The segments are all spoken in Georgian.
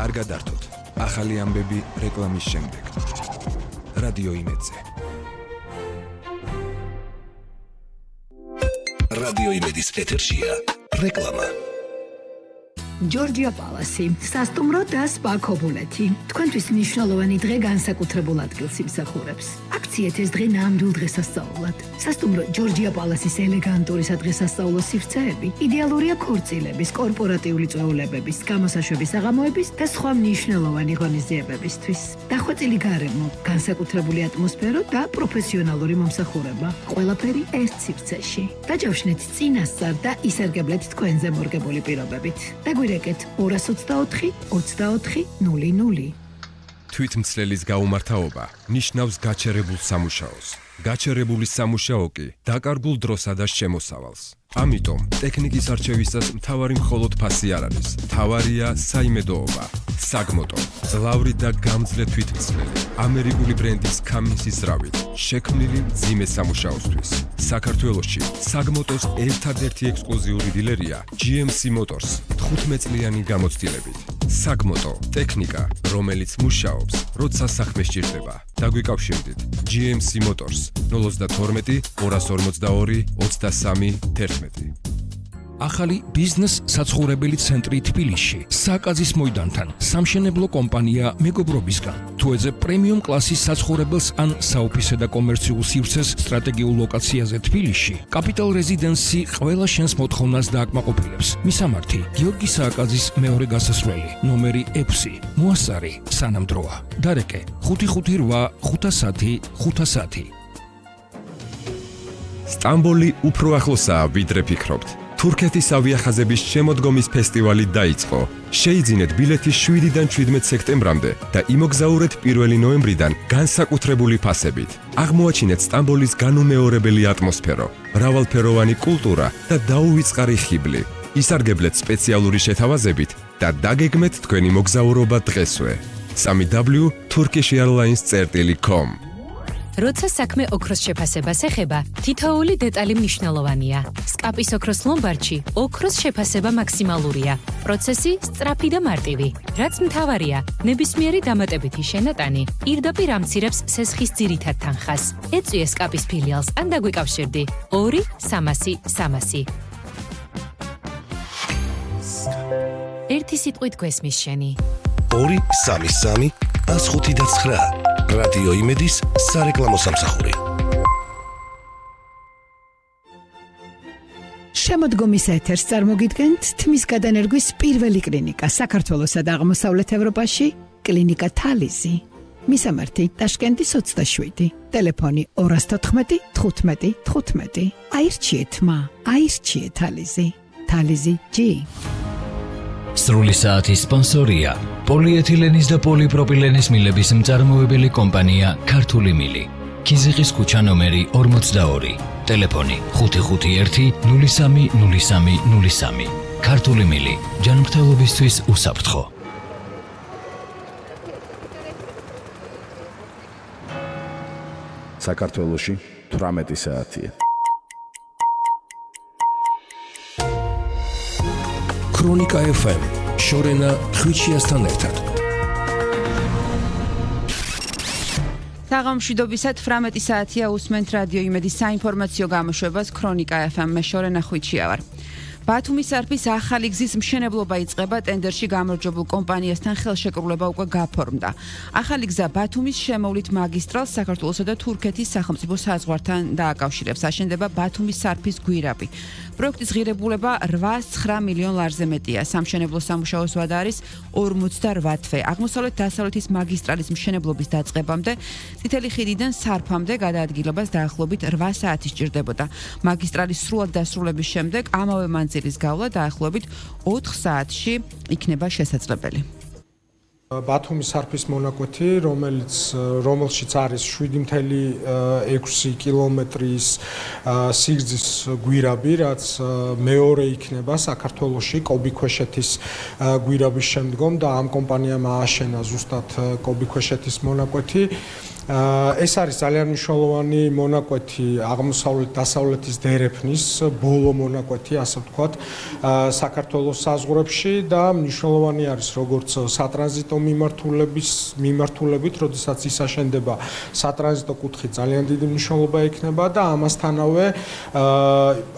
არ გადართოთ. ახალი ამბები რეკლამის შემდეგ. რადიო იმედზე. რადიო იმედის ეთერშია რეკლამა. ჯორჯია პალასი, სასტუმრო და სპა ქობულეთი. თქვენთვის მნიშვნელოვანი დღე განსაკუთრებულ ადგილს იმსახურებს. აქციეთ ეს დღე ნამდვილ დღესასწაულად. სასტუმრო ჯორჯია პალასის ელეგანტური სადღესასწაულო სივრცეები იდეალურია ქორწილების, კორპორატიული წვეულებების, გამოსაშვების საღამოების და სხვა მნიშვნელოვანი ღონისძიებებისთვის. დახვეწილი გარემო, განსაკუთრებული ატმოსფერო და პროფესიონალური მომსახურება. ყველაფერი ერთ სივრცეში. დაჯავშნეთ წინასწარ და ისარგებლეთ თქვენზე მორგებული პირობებით. დაგვირეკეთ 224 24 00. თვითმცლელის გაუმართავობა ნიშნავს გაჩერებულ სამუშაოს. გაჩერებული სამუშაო კი დაკარგულ დროსა და შემოსავალს. ამიტომ ტექნიკის არჩევისას მთავარი მხოლოდ ფასი არ არის. მთავარია საიმედოობა. საგმოტო, ძლავრი და გამძლე თვითმცლელი, ამერიკული ბრენდის Cummins-ის ზრავით, შექმნილი მძიმე სამუშაოსთვის. საქართველოში საგმოტოს ერთადერთი ექსკლუზიური დილერია GMC Motors 15 წლიანი გამოცდილებით. საგმოტო, ტექნიკა, რომელიც მუშაობს, როცა საქმე სჭირდება. დაგვიკავშირდით GMC Motors 012 242 23 11. ახალი ბიზნეს საცხოვრებელი ცენტრი თბილისში, საკაზის მოედანთან, სამშენებლო კომპანია მეგობრობისგან. თუ ეძებ პრემიუმ კლასის საცხოვრებელს ან საოფისე და კომერციულ სივრცეს სტრატეგიულ ლოკაციაზე თბილისში, Capital Residency ყველა შენს მოთხოვნას დააკმაყოფილებს. მისამართი: გიორგი სააკაძის მეორე გასასვლელი, ნომერი 6, მოასწარი, სანამდროა. დარეკე: 558 510 510. სტამბოლი უფრო ახლოსაა, ვიდრე ფიქრობთ. თურქეთის ავიახაზების შემოდგომის ფესტივალი დაიწყო. შეიძინეთ ბილეთი 7-დან 17 სექტემბრამდე და იმოგზაურეთ 1 ნოემბრიდან განსაკუთრებული ფასებით. აღმოაჩინეთ სტამბოლის განუმეორებელი ატმოსფერო, მრავალფეროვანი კულტურა და დაუვიწყარი ხიბლი. ისარგებლეთ სპეციალური შეთავაზებით და დაგეგმეთ თქვენი მოგზაურობა დღესვე. www.turkishairlines.com. როცა საქმე ოქროს შეფასებას ეხება, თითოეული დეტალი მნიშვნელოვანია. სკაპის ოქროს ლომბარდში ოქროს შეფასება მაქსიმალურია. პროცესი სწრაფი და მარტივი. რაც მთავარია, ნებისმიერი დამატებითი შენატანი პირდაპირ ამცირებს სესხის ძირითად თანხას. ეწვიე სკაპის ფილიალს ან დაგვიკავშირდი 2 300 300. ერთი სიტყვით გვესმის შენი. 2 3 105.9 რადიო იმედის სარეკლამო სამსახური. შემოდგომის ეთერს წარმოგიდგენთ თმის გადანერგვის პირველი კლინიკა საქართველოსა და აღმოსავლეთ ევროპაში, კლინიკა თალიზი. მისამართი: ტაშკენტის 27, ტელეფონი 214 15 15. აირჩიეთ მა, აირჩიეთ თალიზი. თალიზი G. სრული საათის სპონსორია პოლიეთილენის და პოლიპროპილენის მილების მწარმოებელი კომპანია ქართული მილი. ქიზიყის ქუჩა ნომერი 42, ტელეფონი 551 03 03 03. ქართული მილი, ჯანმრთელობისთვის უსაფრთხო. საქართველოში 18 საათია. ქრონიკა FM, შორენა ხვიჩიასთან ერთად. საღამომშვიდობისა 18 საათია, უსმენთ რადიო იმედის საინფორმაციო გამოშვებას ქრონიკა FM, მე შორენა ხვიჩია ვარ. ბათუმის სარფის ახალი გზის მშენებლობა იწყება, ტენდერში გამარჯვებულ კომპანიასთან ხელშეკრულება უკვე გაფორმდა. ახალი გზა ბათუმის შემოვლით მაგისტრალს საქართველოსა და თურქეთის სახელმწიფო საზღვართან დააკავშირებს. აშენდება ბათუმის სარფის გვირაბი. პროექტის ღირებულება 8-9 მილიონ ლარზე მეტია. სამშენებლო სამუშაოს ვადა არის 48 თვე. აღმოსავლეთ-დასავლეთის მაგისტრალის მშენებლობის დაწყებამდე წითელი ხიდიდან სარფამდე გადაადგილებას დაახლოებით 8 საათი სჭირდებოდა. მაგისტრალის სრულად დასრულების შემდეგ ამავე მანძილის გავლა დაახლოებით 4 საათში იქნება შესაძლებელი. ბათუმის სარფის მონაკვეთი, რომელშიც არის 7.6 კილომეტრის სიგრძის გვირაბი, რაც მეორე იქნება საქართველოში კობიქვეშეთის გვირაბის შემდგომ და ამ კომპანიამ ააშენა ზუსტად კობიქვეშეთის მონაკვეთი. ეს არის ძალიან მნიშვნელოვანი მონაკვეთი აღმოსავლეთ-დასავლეთის დერეფნის ბოლო მონაკვეთი, ასე ვთქვათ, საქართველოს საზღვრებში და მნიშვნელოვანი არის როგორც სატრანზიტო მიმართულებით, როდესაც ის აშენდება სატრანზიტო კუთხით ძალიან დიდი მნიშვნელობა ექნება და ამასთანავე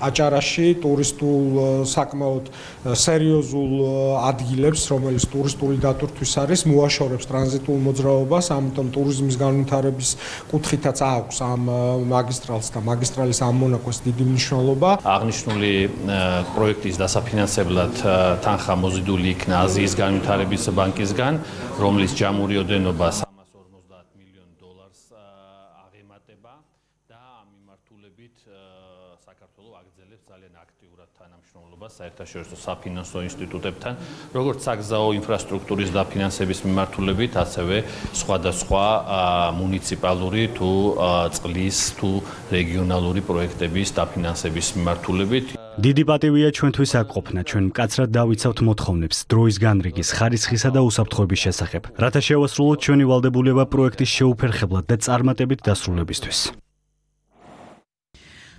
აჭარაში ტურისტულ საკმაოდ სერიოზულ ადგილებს, რომელიც ტურისტული დატვირთვის არის, მოაშორებს ტრანზიტულ მოძრაობას, ამიტომ ტურიზმის განვითარების კუთხითაც აქვს ამ მაგისტრალს და მაგისტრალის ამ მონაკვეთს დიდი მნიშვნელობა. აღნიშნული პროექტის დასაფინანსებლად თანხა მოზიდული იქნა აზიის განვითარების ბანკისგან, რომლის ჯამური ოდენობა $350 მილიონ აღემატება და ამ მიმართულებით საქართველოს აგრძელებს ძალიან აქტიურად თანამშრომლობას საერთაშორისო საფინანსო ინსტიტუტებთან, როგორც საგზაო ინფრასტრუქტურის დაფინანსების მიმართულებით, ასევე სხვადასხვა მუნიციპალური თუ წყლის თუ რეგიონალური პროექტების დაფინანსების მიმართულებით. დიდი პატივია ჩვენთვის აქ ყოფნა, ჩვენ მკაცრად დავიცავთ მოთხოვნებს დროის განრიგის, ხარისხისა და უსაფრთხოების შესახებ, რათა შევასრულოთ ჩვენი ვალდებულება პროექტის შეუფერხებლად და წარმატებით დასრულებისთვის.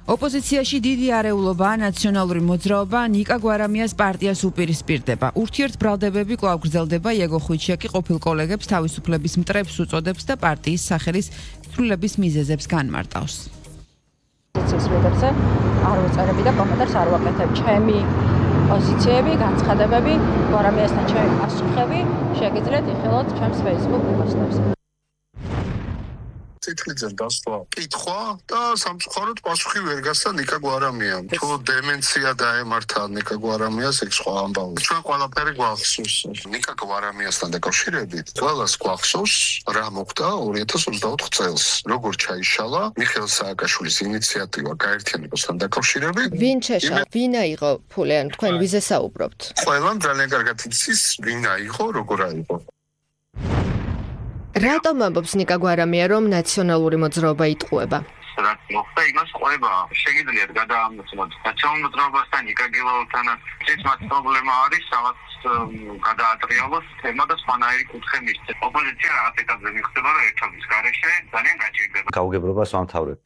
ოპოზიციაში დიდი არეულობა ნაციონალური მოძრაობა ნიკა გვარამიას პარტიას უპირისპირდება. ურთიერთბრალდებები კვლავ გრძელდება, იაგო ხვიჩიაკი ყოფილ კოლეგებს თავისუფლების მტრებს უწოდებს და პარტიის სახელის ცვლილების მიზეზებს განმარტავს. პოზიციის მიღებაზე არ ვუწერები და კომენტარს არ ვაკეთებ. ჩემი პოზიციები, განცხადებები, გვარამიასთან ჩემი პასუხები შეგიძლიათ იხილოთ ჩემს Facebook პოსტებს. წითლიძე დასვა კითხვა და სამწუხაროდ პასუხი ვერ გასცა ნიკა გვარამიამ. თუ დემენცია დაემართა ნიკა გვარამიას, ეგ სხვა ამბავი. ჩვენ ყველაფერი გვახსოვს. ნიკა გვარამიასთან დაკავშირებით ყველას გვახსოვს რა მოხდა 2024 წელს. როგორ ჩაიშალა მიხეილ სააკაშვილის ინიციატივა გაერთიანებასთან დაკავშირებით. ვინ შეშალა? ვინ აიღო ფული? ან თქვენ ვიზე საუბრობთ? ყველამ ძალიან კარგად იცის ვინ აიღო, როგორ აიღო. რატომ ამბობს ნიკა გვარამია, რომ ნაციონალური მოძრაობა იტყუება? რაც მოხდა, იმას ყვება. შეგიძლიათ გადაამოწმოთ ნაციონალურ მოძრაობასთან, ნიკა გილაურთანაც. ეს მათ პრობლემა არის, რაღაც გადაატრიალოს თემა და სხვანაირი კუთხე მისცეს. ოპოზიცია რაღაც ეტაპზე მიხდება, რომ ერთობის გარეშე ძალიან გაჭირდება. გაუგებრობას ვამთავრებთ.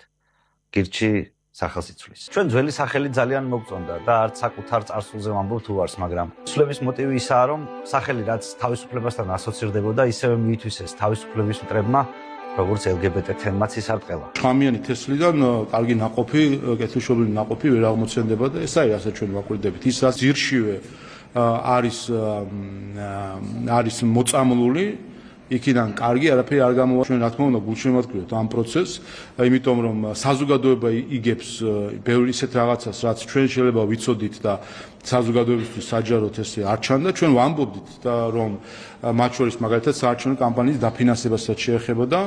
გირჩი სახელმწიფოს. ჩვენ ძველი სახელი ძალიან მოგწონდა და არც საკუთარ წარსულზე ვამბობ თუ არს, მაგრამ ცვლების მოტივი ისაა, რომ სახელი რაც თავისუფლებასთან ასოცირდებოდა, ისევე მიითვისეს თავისუფლების მტრებმა, როგორც LGBT თემაც ისარტყელა. შხამიანი თესლიდან კარგი ნაყოფი, კეთილშობილი ნაყოფი ვერ აღმოცენდება და ეს არის ასე ჩვენ ვაკვირდებით. ის რაც ძირშივე არის მოწამლული იქიდან კარგი არაფერი არ გამოვა. ჩვენ რა თქმა უნდა გულშემატკივრებთ ამ პროცესს, იმიტომ რომ საზოგადოება იგებს ბევრი ისეთ რაღაცას, რაც ჩვენ შეიძლება ვიცოდით და საზოგადოებისთვის საჯაროდ ესე არ ჩანდა. ჩვენ ვამბობდით და რომ მათ შორის მაგალითად საარჩევნო კამპანიის დაფინანსებასაც შეეხებოდა,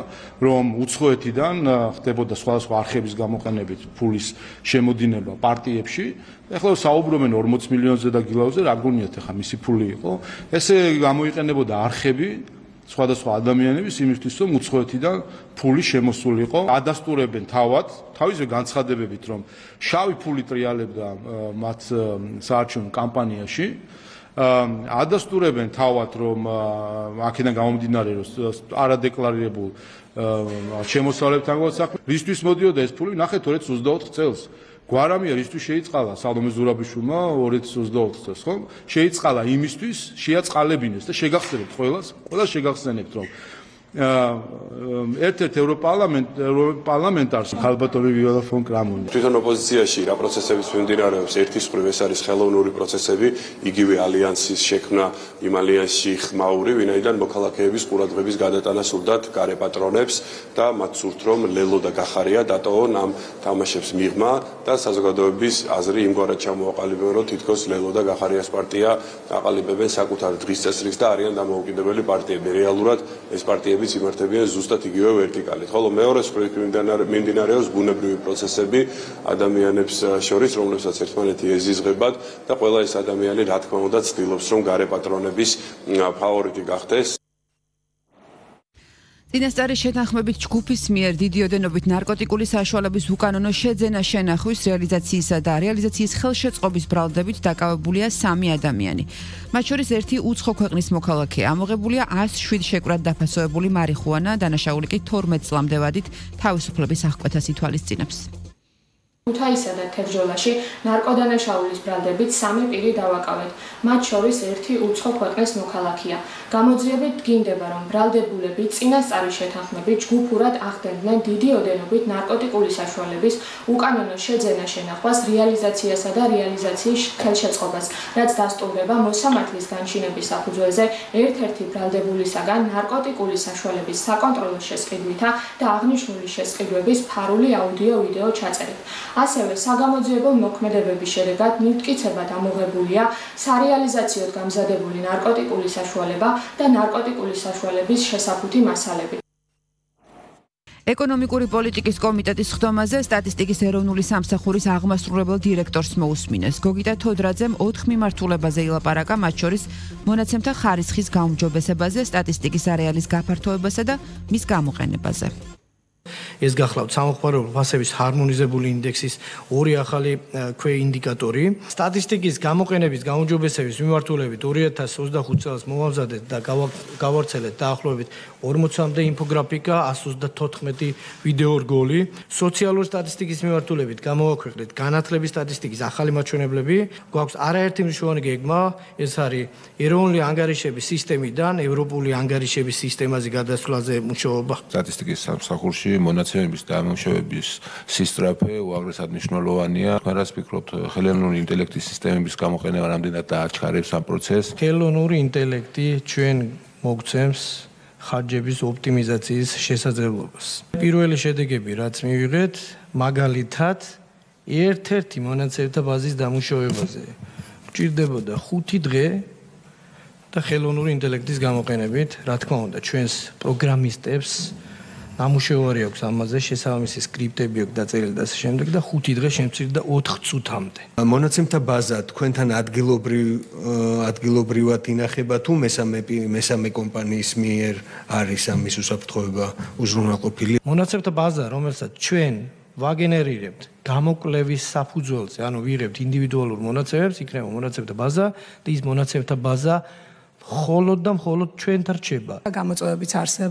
რომ უცხოეთიდან ხდებოდა სხვადასხვა არხების გამოყენებით ფულის შემოდინება პარტიებში. ეხლა საუბრობენ 40 მილიონზე და გილაუზე, რა გონიათ ახლა მისი ფული იყო. ესე გამოიყენებოდა არხები სხვადასხვა ადამიანების იმისთვის, რომ უცხოეთიდან ფული შემოსულიყო. ადასტურებენ თავისზე განცხადებებით, რომ შავი ფული ტრიალებდა მათ საარჩევნო კამპანიაში. ადასტურებენ თავად, რომ აქედან გამომდინარე, რომ არადეკლარირებულ შემოსავლებთან გვასახმე. რისთვის მოდიოდა ეს ფული? ნახეთ 2024 წელს. გვარამია რისთვის შეიწყალა სალომე ზურაბიშვილმა 2024 წელს, ხო? შეიწყალა იმისთვის, შეაწყალებინეს და შეგახსენებთ ყველას შეგახსენებთ, რომ ერთ-ერთ ევროპარლამენტარს ხალბატონი ვიოლა ფონ კრამონი. თვითონ ოპოზიციაში რა პროცესებიც მიმდინარეობს, ერთის მხრივ ეს არის ხელოვნური პროცესები, იგივე ალიანსის შექმნა, იმ ალიანსში ხმაური, ვინაიდან მოქალაქეების ყურადღების გადატანა სურდათ გარე პატრონებს და მათ სურთ, რომ ლელო და გახარია დატოვონ ამ თამაშებს მიღმა და საზოგადოების აზრი იმგვარად ჩამოაყალიბებენ, რომ თითქოს ლელო და გახარიას პარტია აყალიბებენ საკუთარ დღის წესრიგს და არიან დამოუკიდებელი პარტიები. რეალურად ეს პარტიები იმართებიან ზუსტად იგივე ვერტიკალით. ხოლო მეორე მხრივ მიმდინარეობს ბუნებრივი პროცესები ადამიანებს შორის, რომლებსაც ერთმანეთი ეზიზღებათ და ყველა ეს ადამიანი რა თქმა უნდა ცდილობს, რომ გარე პატრონების ფავორიტი გახდეს. წინასწარი შეთანხმებით ჯგუფის მიერ დიდი ოდენობით ნარკოტიკული საშუალების უკანონო შეძენა შენახვის რეალიზაციისა და რეალიზაციის ხელშეწყობის ბრალდებით დაკავებულია 3 ადამიანი. მათ შორის ერთი უცხო ქვეყნის მოქალაქეა. ამოღებულია 107 შეკვრად დაფასოებული მარიხუანა, დანაშაული კი 12 წლამდე ვადით თავისუფლების აღკვეთას ითვალისწინებს. ქუთაისსა და თებჯოლაში ნარკოდანაშაულის ბრალდებით 3 პირი დავაკავეთ. მათ შორის ერთი უცხო ქვეყნის მოქალაქეა. გამოძიებით დგინდება, რომ ბრალდებულები წინასწარი შეთანხმებით ჯგუფურად ახდენდნენ დიდი ოდენობით ნარკოტიკული საშუალების უკანონო შეძენა-შენახვას, რეალიზაციასა და რეალიზაციის ხელშეწყობას, რაც დასტურდება მოსამართლის განშინების საფუძველზე ერთ-ერთი ბრალდებულისაგან ნარკოტიკული საშუალების საკონტროლო შესყიდვითა და აღნიშნული შესყიდვების ფარული აუდიო-ვიდეო ჩაწერით. ასევე საგამოძიებო მოქმედებების შედეგად მტკიცებად ამოღებულია სარეალიზაციოდ გამზადებული ნარკოტიკული საშუალება და ნარკოტიკული საშუალების შესაფუთი მასალები. ეკონომიკური პოლიტიკის კომიტეტის ხდომაზე სტატისტიკის ეროვნული სამსახურის აღმასრულებელ დირექტორს მოусმინეს. გოგიტა თოდრაძემ 4 მიმართულებაზე ილაპარაკა, მათ შორის მონაცემთა ხარისხის გაუმჯობესებაზე, სტატისტიკის არეალის გაფართოებასა და მის გამოყენებაზე. ეს გახლავთ სამხმარებლო ფასების ჰარმონიზებული ინდექსის 2 ახალი ქვეინდიკატორი. სტატისტიკის გამოყენების გაუმჯობესების მიმართულებით 2025 წელს მოვამზადეთ და გავავრცელეთ დაახლოებით 40-მდე ინფოგრაფიკა, 134 ვიდეო რგოლი. სოციალური სტატისტიკის მიმართულებით გამოვაქვეყნეთ განათლების სტატისტიკის ახალი მაჩვენებლები. გვაქვს არაერთი მნიშვნელოვანი გეგმა, ეს არის ეროვნული ანგარიშების სისტემიდან ევროპული ანგარიშების სისტემაზე გადასვლაზე მუშაობა. სტატისტიკის სამსახურში მონაცემების დამუშავების სისწრაფე უაღრესად მნიშვნელოვანია. რას ფიქრობთ, ხელოვნური ინტელექტის სისტემების გამოყენება რამდენად დააჩქარებს ამ პროცესს? ხელოვნური ინტელექტი ჩვენ მოგცემს ხარჯების ოპტიმიზაციის შესაძლებლობას. პირველი შედეგები, რაც მივიღეთ, მაგალითად, ერთ-ერთი მონაცემთა ბაზის დამუშავებაზე გვჭირდებოდა 5 დღე და ხელოვნური ინტელექტის გამოყენებით, რა თქმა უნდა, ჩვენს პროგრამისტებს ნამუშევარი აქვს ამაზე, შესაბამისი სკრიპტები აქვს დაწერილი და ასე შემდეგ და 5 დღე შემცირდა 4 წუთამდე. მონაცემთა ბაზა თქვენთან ადგილობრივად ინახება თუ მესამე კომპანიის მიერ არის ამის უსაფრთხოება უზრუნველყოფილი? მონაცემთა ბაზა, რომელსაც ჩვენ ვაგენერირებთ გამოკვლევის საფუძველზე, ანუ ვიღებთ ინდივიდუალურ მონაცემებს, იქნება მონაცემთა ბაზა და ის მონაცემთა ბაზა მხოლოდ და მხოლოდ ჩვენთან რჩება. გამოწვევებიც არსებობს.